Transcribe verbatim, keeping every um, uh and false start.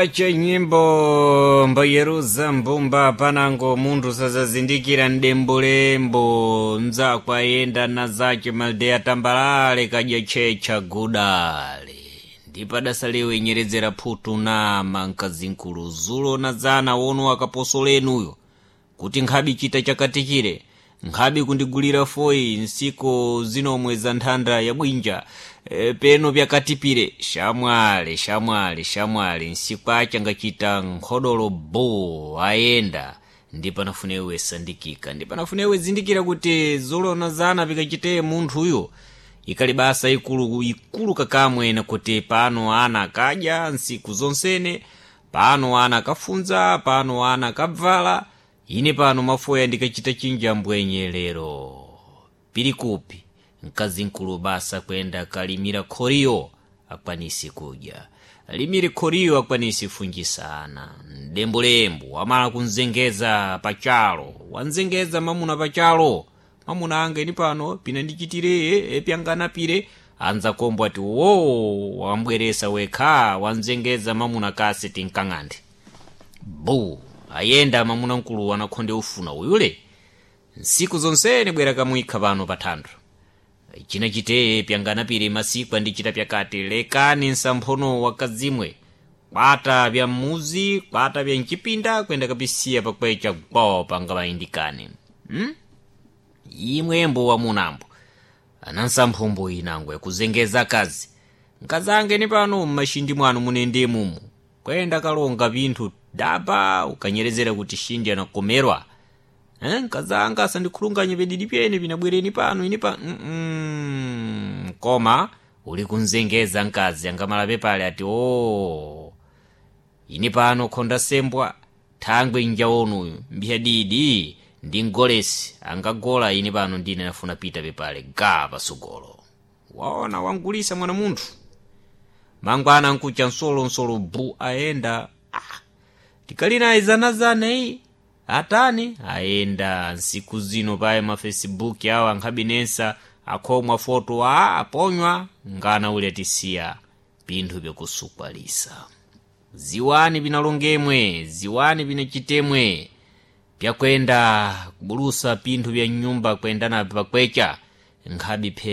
Ache nyimbo mbayeruza mbumba panango munthu sazazindikira mdembulembo mzako ayenda na zace maldeya tambalale kadya tchecha gudale ndipadasalewe nyeredzera phutu nama mkazinkulu zulo na zana wono akaposolenuyo kuti nkhabi chita chakatikire nkhabi kundigulira foyi nsiku zinomwe za nthanda ya bwinja e, peno pyakatipire shamwale shamwale shamwale nsiku acha ngachita nkhodolo bo ayenda ndipanafunewe sandikika ndipanafunewe zindikira kuti zulona zana pikachiteye munthuyo ikali basa ikulu ikulu kakamwe nakuti pano ana akadya nsiku zonsene pano ana akafunza pano ana akabvala ine pano mafoya ndikachita chinja mbwenye lero pili kupi mkazi mkulu basa kwenda kalimira khoriyo akwanisi kudya limire khoriyo akwanisi funjisa ana mdembulembu amala kunzengeza pachalo wanzengeza mamuna pachalo mamuna anga ini pano pina ndichitire epyanganapire anza kombo ati wo wambweresa wekha wanzengeza mamuna kasi tinkang'ande bu ayenda mamuna mkulu anakhonde ufuna uyule nsiku zonsene bwera kamwikha pano pa thandwe china chiteye pyanganapire masiku andichita pyakati lekani nsamphono wakazimwe kwata pya mmuzi kwata pya mchipinda kwenda kapisiya pakwecha gwo pangamayindikane hmm? imwembo wamunambo anansamphombo inango yakuzengeza kazi nkazange ni pano mmashindi mwanu munende mumu kwenda kalonga pinthu daba ukanyerezera kuti shindi anakomerwa eh, nkazanga asandikhulunganye pedidi pyene pinabwereni pano ini pa mm -mm. koma uli kunzengeza mkazi angamalape pale ati o ini pano khonda sembwa thangwe njawonuyu mbiyadidi didi ndi ngolesi angagola ine pano ndine nafuna pita pepale ga pasogolo waona wangulisa mwana munthu mangwana nkucha nsolo nsolo bu ayenda ah, tikalina izanazana iyi atani ayenda nsiku zino paye mafacebook awo ankhabinensa akhomwa foto a aponywa ngana uli atisiya pinthu pyakusukwalisa ziwani pinalongemwe ziwani pinachitemwe pyakwenda kubulusa pinthu pya nyumba kwenda napyo pakwecha nkhabi phe